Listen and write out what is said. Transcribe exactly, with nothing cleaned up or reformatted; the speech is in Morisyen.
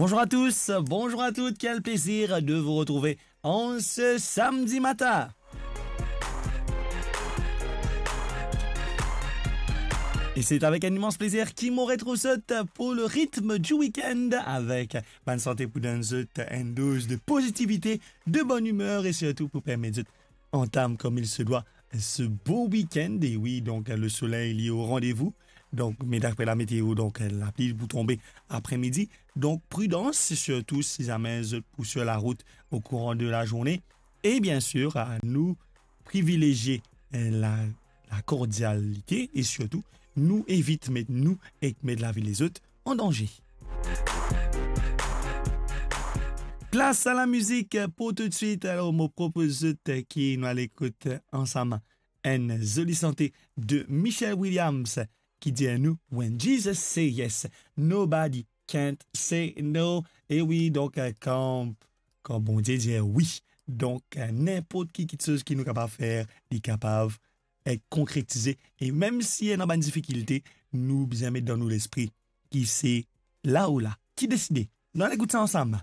Bonjour à tous, bonjour à toutes, quel plaisir de vous retrouver en ce samedi matin. Et c'est avec un immense plaisir ki mo retrouv zot pour le rythme du week-end avec bann sante pou donn zot une dose de positivité, de bonne humeur et surtout pour permettre zot antam comme il se doit ce beau week-end. Et oui, donc le soleil il est au rendez-vous. Donc, mais d'après la météo, donc la pluie pou tonbe après-midi. Donc, prudence, surtout si jamais zot pou sur la route au courant de la journée. Et bien sûr, à nous privilégier euh, la, la cordialité et surtout, nou evit met nou ek met lavi lezot an danze. Plas a la mizik pou toutswit. Alor, mo propoz zot ki nou al ekout ansam enn zoli sante de Michelle Williams ki dir nou, "When Jesus say yes, nobody can't say no." E wi, donk, euh, kan, kan Bondie dir wi, donk, euh, ninport ki kiksoz ki nou kapav fer, li kapav et konkretize. E mem si ena bann difikilte, nou bizin met dan nou lespri ki se la ou la ki deside. Nou al ekout sa ansam.